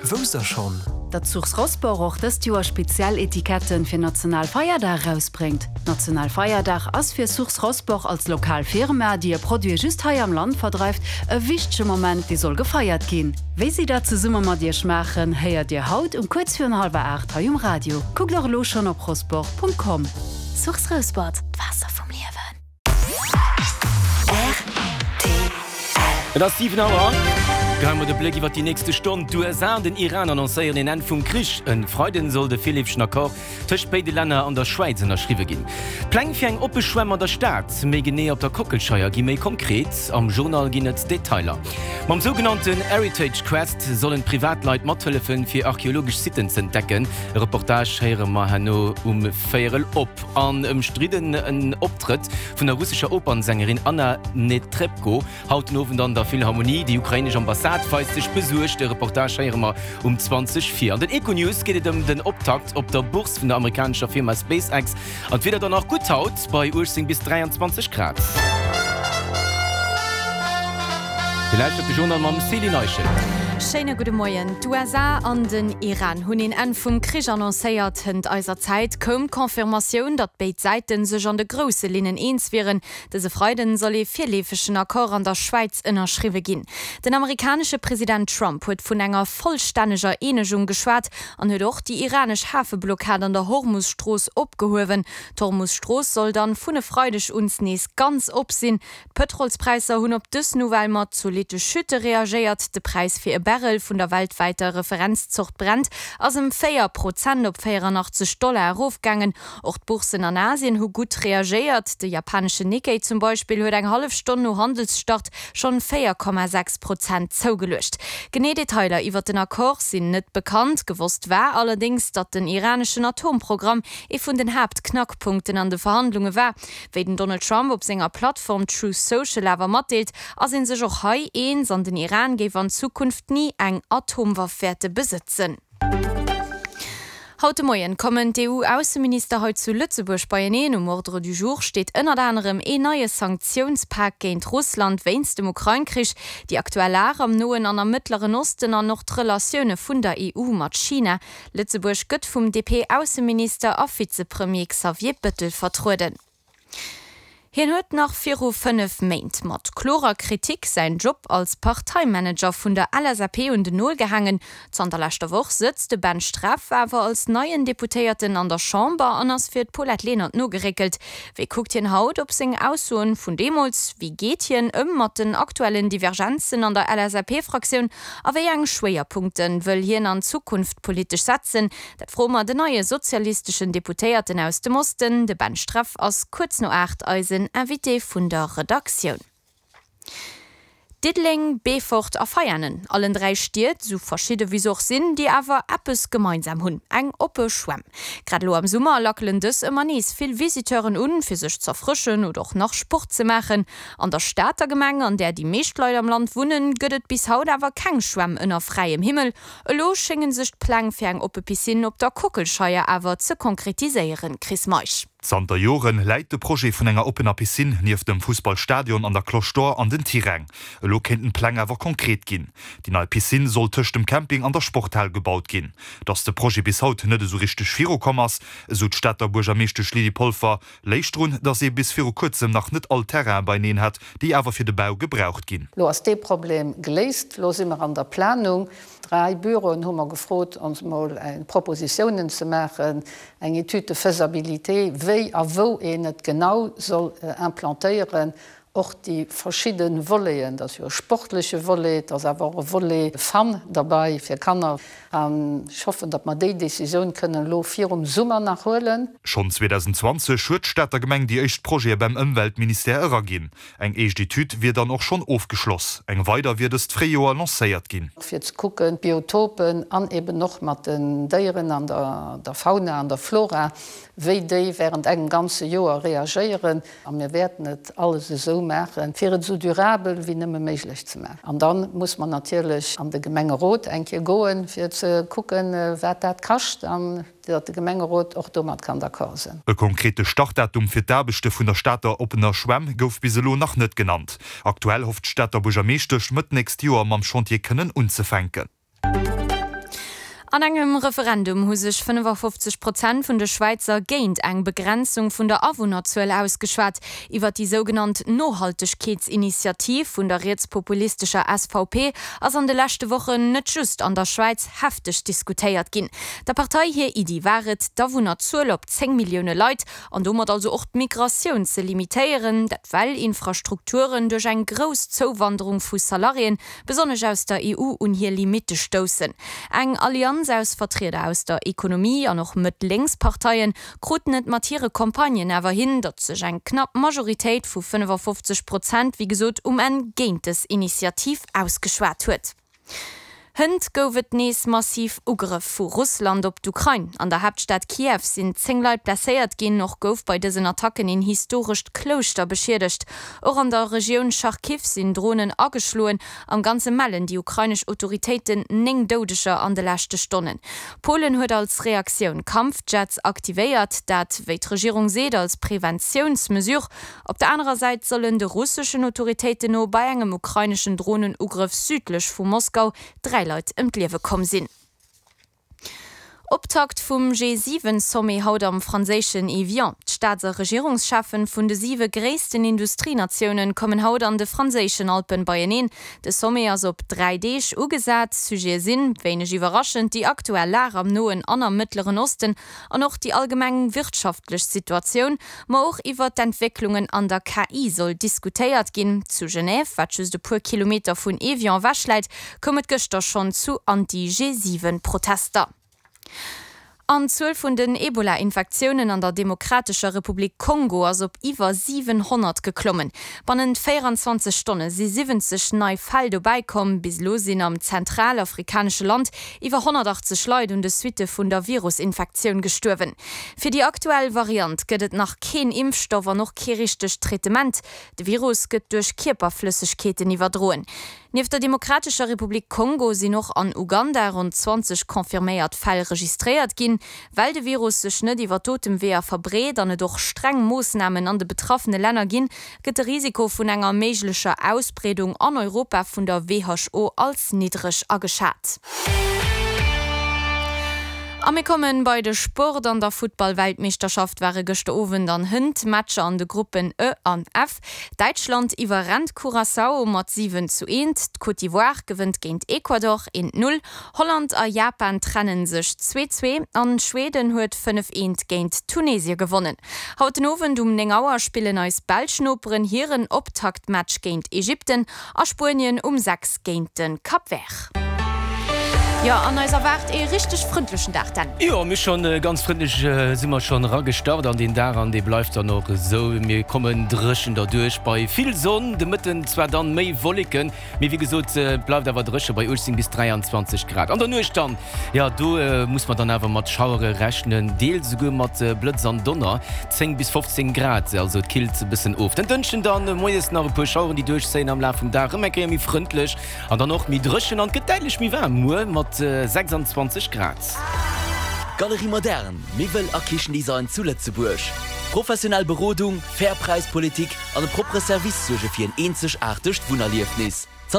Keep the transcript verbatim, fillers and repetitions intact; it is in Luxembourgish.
Wousst der schonn? Datt Source Rosport och dëst Joer speziell Etiketten fir Nationalfeierdag erausbréngt? Nationalfeierdag ass fir Source Rosport als lokal Firma, déi hir Produite just hei am Land verdreift, e wichtege Moment, dee soll gefeiert ginn. Wéi si dat zesumme mat Iech maachen, héiert Dir haut um kuerz virun hallwer aacht hei um Radio. Kuckt och elo schonn op rosport.com. Source Rouspert, d'Waasser vum Liewen. Et ass siwen Auer. Geheie mer de Bléck iwwer déi nächste Stonn. D'USA an den Iran annoncéieren een Enn vum Krich. E Freiden soll de virleefegen Accord tëscht béide Länner an der Schwäiz ënnerschriwwe ginn. D'Pläng fir eng oppe Schwämm an der Stad, méi genee op der Kockelscheier, gi méi konkret. Am Journal ginn et Detailer. Mam sougenannten Heritage Quest sollen Privatleit mathëllefen, fir archeologesch Sitten z'entdecken. E Reportage héiere mer herno um Véierel op. An ëmstridden en Optrëtt vun der russescher Opernsängerin Anna Netrebko haut den Owend an der Philharmonie. Déi ukrainesch Ambassade weist sech besuergt. De Reportage héiere mer um zwanzeg vir. An den Econews geet et ëm den Optakt op der Bourse vun der amerikanescher Firma SpaceX. An d'Wieder dann nach gutt haut bei uechtzéng bis dräianzwanzeg Grad. Dir lauschtert de Journal mam Céline Eischen. Schéine gudde Moien. D'USA an den Iran hunn een Enn vum Krich annoncéiert. Hënt eiser Zäit koum d'Confirmatioun, datt béid Säite sech an de grousse Linnen eens wieren. Dëse Freiden soll ee virleefegen Accord an der Schwäiz ënnerschriwwe ginn. Den amerikanesche President Trump huet vun enger vollstänneger Eenegung geschwat an huet och déi iranesch Hafeblockad an der Hormus-Strooss opgehuewen. D'Hormus-Strooss soll dann vun e Freideg un nees ganz op sinn. D'Pëtrolspräisser hunn op dës Nouvelle mat zolitte Chute reagéiert. De Präis fir e Barrel vun der weltwäiter Referenzzort Brent ass ëm véier Prozent op véierannachtzeg Dollar erofgaangen. Och d'Bourssen an Asien hu gutt reagéiert. De japaneschen Nikkei zum Beispill huet eng hallef Stonn no Handelsstart schonn véier Komma sechs Prozent zougeluecht. Genee Detailer iwwert den Accord sinn net bekannt. Gewosst war allerdéngs, datt den iraneschen Atomprogramm ee vun den Haaptknackpunkten an de Verhandlunge war. Wéi den Donald Trump op senger Plattform Truth Social awer matdeelt, ass ee sech och hei eens an den Iran géif an Zukunft ni eng Atomwaff wäerte besëtzen. Haut de Moien kommen d'EU-Ausseminister hei zu Lëtzebuerg beieneen. Um Ordre du jour steet ënnert anerem een neie Sanktiounspak géint Russland wéinst dem Ukrain-Krich, déi aktuell Lag am Noen an am Mëttleren Osten an och d'Relatioune vun der E U mat China. Lëtzebuerg gëtt vum D P-Ausseminister a Vizepremier Xavier Bettel vertrueden. Hien huet nach viru fënnef Méint mat klorer Kritik säin Job als Parteimanager vun der L S A P un den Nol gehaangen. Zanter leschter Woch sëtzt de Ben Streff awer als neien Deputéierten an der Chamber an ass fir d'Paulette Lenert nogeréckelt. Wéi kuckt hien haut op seng Aussoen vun deemools? Wéi geet hien ëm mat den aktuellen Divergenzen an der L S A P-Fraktioun? A wéi eng Schwéierpunkte wëll hien an Zukunft politesch setzen? Dat froe mer den neie sozialisteschen Deputéierten aus dem Osten. De Ben Streff ass kuerz no aacht eisen Invité vun der Redaktioun. Diddeleng, Beefort a Veianen, allen dräi Stied, sou verschidde wéi se och sinn, déi awer eppes gemeinsam hunn, eng oppe Schwämm. Grad elo am Summer lackelen dës ëmmer nees vill Visiteuren un, fir sech z'erfrëschen oder och nach Sport ze maachen. An der Stater Gemeng, an där déi meescht Leit am Land wunnen, gëtt et bis haut awer keng Schwämm ënner fräiem Himmel. Elo schénge sech d'Pläng fir eng oppe Piscine op der Kockelscheier awer ze konkretiséieren. Chris Meisch. Zanter Joren läit de Projet vun enger oppener Piscine nieft dem Fussballstadion an der Cloche d'Or an den Tiräng. Elo kéinten d'Pläng awer konkret ginn. Déi nei Piscine soll tëscht dem Camping an der Sporthal gebaut ginn. Datt de Projet bis haut net esou richteg virukomm ass, esou d'Stater Buergermeeschtesch Lydie Polfer, léich drun, datt ee bis viru kuerzem nach net all Terraine beineen hat, déi awer fir de Bau gebraucht ginn. Lo ass dee Problem geléist, lo si mer an der Planung. Dräi Büroen hu mer gefrot, ons mol Propositiounen ze maachen, eng Étude de faisabilité, wéi a wou een et genau soll implantéieren, och déi verschidde Voleten, et ass jo e sportleche Volet, et ass awer och e Volet Fun derbäi fir Kanner. An ech hoffen, datt mer déi Decisioun kënnen elo virum Summer nach huelen. Schonn zweedausendzwanzeg huet d'Stater Gemeng déi éischt Projete beim Ëmweltministère eraginn. Eng éischt Etüd wier dann och schonn ofgeschloss, eng weider wier dëst Fréijoer lancéiert ginn. Fir ze kucken, d'Biotopen an eben och mat den Déieren an der Fauna an der Flora, wéi déi während engem ganze Joer reagéieren. A mir wäerten et alles esou maachen, fir et esou durabel wéi nëmme méiglech ze maachen. An da muss mer natierlech an de Gemengerot eng Kéier goen, fir ze kucken, wat dat kascht an datt de Gemengerot och domat kann d'accord sinn. E konkrete Startdatum fir d'Aarbechte vun der Stater oppener Schwämm gouf bis elo nach net genannt. Aktuell hofft d'Stater Buergermeeschtesch, Mëtt nächst Joer mam Chantier kënnen unzefänken. An engem Referendum hu sech fënnefafofzeg Prozent vun de Schwäizer géint eng Begrenzung vun der Awunnerzuel ausgeschwat. Iwwer déi sougenannt Nohaltegkeetsinitiativ vun der rietspopulistescher S V P ass an de leschte Wochen net just an der Schwäiz hefteg diskutéiert ginn. Der Partei hir Iddi war et, d'Awunnerzuel op zéng Millioune Leit an domat also och d'Migratioun ze limitéieren, dat well Infrastrukturen duerch eng grouss Zouwanderung vu Salariéen, besonnesch aus der E U, un hir Limitte stoussen. Eng Allianz aus Vertrieder aus der Ekonomie an och Mëtt-Lénks-Parteien kruten et mat hire Campagnen awer hin, datt sech eng knapp Majoritéit vu fënnefafofzeg Prozent, wéi gesot, um Enn géint dës Initiativ ausgeschwat huet. Hënt gouf et nees massiv Ugrëff vu Russland op d'Ukrain. An der Haaptstad Kiew sinn zéng Leit blesséiert ginn, och gouf bei dësen Attacken een historescht Klouschter beschiedegt. Och an der Regioun Charkiw sinn Dronen ageschloen. Am Ganze mellen déi ukrainesch Autoritéiten néng Doudeger an de leschte Stonnen. Polen huet als Reaktioun Kampfjets aktivéiert, dat, wéi d'Regierung seet, als Preventiounsmesure. Op der anerer Säit sollen de russeschen Autoritéiten no bei engem ukraineschen Dronenugrëff südlech vu Moskau dräi Leit ëm d'Liewe komm sinn. Optakt vum G siwen Sommet haut am franséischen Evian. D'Staats- a Regierungscheffen vun de siwe gréissten Industrienatiounen kommen haut an de franséischen Alpen beieneen. De Sommet ass op dräi Deeg ugesat. Sujete sinn, wéineg iwwerraschend, déi aktuell Lag am Noen an am Mëttleren Osten an och déi allgemeng wirtschaftlech Situatioun, ma och iwwer d'Entwécklungen an der K I soll diskutéiert ginn. Zu Genève, wat just e puer Kilometer vun Evian ewech läit, koum et gëschter schonn zu Anti-G siwen Protester. An d'Zuel vun den Ebola-Infektiounen an der Demokratescher Republik Kongo ass op iwwer siwenhonnert geklommen. Bannent véierundzwanzeg Stonne si siwwenzeg nei Fäll dobäi komm. Bis elo sinn am zentralafrikanesche Land iwwer honnertachtzeg Leit un de Suitte vun der Virusinfektioun gestuerwen. Fir déi aktuell Variant gëtt et nach keen Impfstoff an och kee richtegt Traitement. De Virus gëtt duerch Kierperflëssegkeeten iwwerdroen. Nieft der Demokratescher Republik Kongo sinn och an Uganda rund zwanzeg confirméiert Fäll registréiert ginn. Well de Virus sech net iwwer d'Otemweeër verbreet an et och streng Moossnamen an de betraffene Länner ginn, gëtt de Risiko vun enger méiglecher Ausbreedung an Europa vun der W H O als niddreg ageschat. A mir kommen bei de Sport. An der Futtball-Weltmeeschterschaft ware gëschter Owend an hënt Matcher an de Gruppen E an F. Däitschland iwwerrennt Curaçao mat siwen zu eent. D'Côte d'Ivoire gewënnt géint Ecuador eent null. Holland a Japan trennen sech zwee zwee an Schweden huet fënnef eent géint Tunesie gewonnen. Haut den Owend um néng Auer spillen eis belsch Noperen hiren Optaktmatch géint Ägypten a Spuenien um sechs géint den Cap Vert. Jo, an eis erwaart ee richteg frëndlechen Dag dann. Jo, mir schon, äh, ganz frëndlech, äh, si mer schon ragestart an den Dag an dee bleift dann och esou. Mir kommen dréchen derduerch bei vill Sonn, de Mëtten zwar dann méi Wolleken, mee wéi gesot, äh, bleift awer dréche bei uechtzehn bis dräianzwanzeg Grad. An der Nuecht dann, ja, do, äh, muss man dann awer mat Schauere rechnen, deels esouguer mat, äh, Blëtz an Donner, zéng bis fofzéng Grad, also et killt e bëssen of. Den Dënschden dann, äh, moies nach e puer Schaueren, déi duerchzéien am Laf vum Dag, ëmmer eng Kéier méi frëndlech an dann och méi dréchen an et gëtt däitlech méi waarm muer mat sechsundzwanzeg Grad. Galerie Moderne, Miwwel a Kichendesign zu Lëtzebuerg. Professionell Berodung, fair Präispolitik an e propere Service suerge fir en eenzegaartegt Wunnerliefnis.